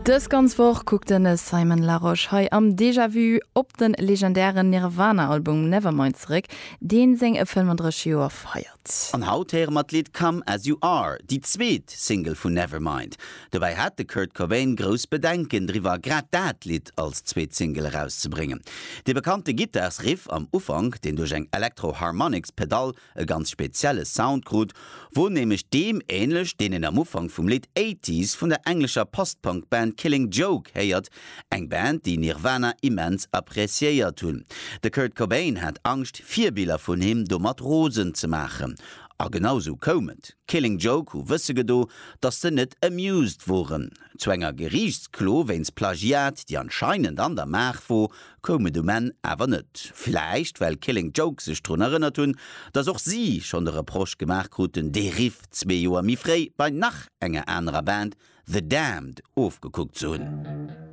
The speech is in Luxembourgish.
Dës ganz Woch kuckt de Simon Larosche hei am Déjà Vu op de legendären Nirvana-Album Nevermind zeréck, deen seng 35 Joer feiert. An haut héiere mer d'Lidd Come As You Are, déi zweet Single vun Nevermind. Dobäi hat de Kurt Cobain grouss Bedenken driwwer, grad dat Lidd als zweet Single erauszebréngen. Dee bekannte Gittarsriff am Ufank, deen duerch eng Electro-Harmonix-Pedall e ganz spezielle Sound krut, wor nämlech deem ähnlech, deen een am Ufank vum Lidd Eighties vun der englescher Post-Punk-Band Killing Joke héiert, eng Band, déi Nirvana immens appreciéiert hunn. De Kurt Cobain hat Angscht, Virbiller vun him domat rosen ze maachen. A genau sou koum et. Killing Joke hu wësse gedo, dass se net amused woren. Zu enger Geriichtsklo wéinst Plagiat, déi anscheinend an der Maach wor, koum et um Enn awer net. Vläicht well Killing Joke sech drun erënnert hunn, dass och si schonn de Reproche gemaach kruten, dee Riff zwee Joer méi fréi bei nach enger anerer Band, The Damned, ofgekuckt ze hunn.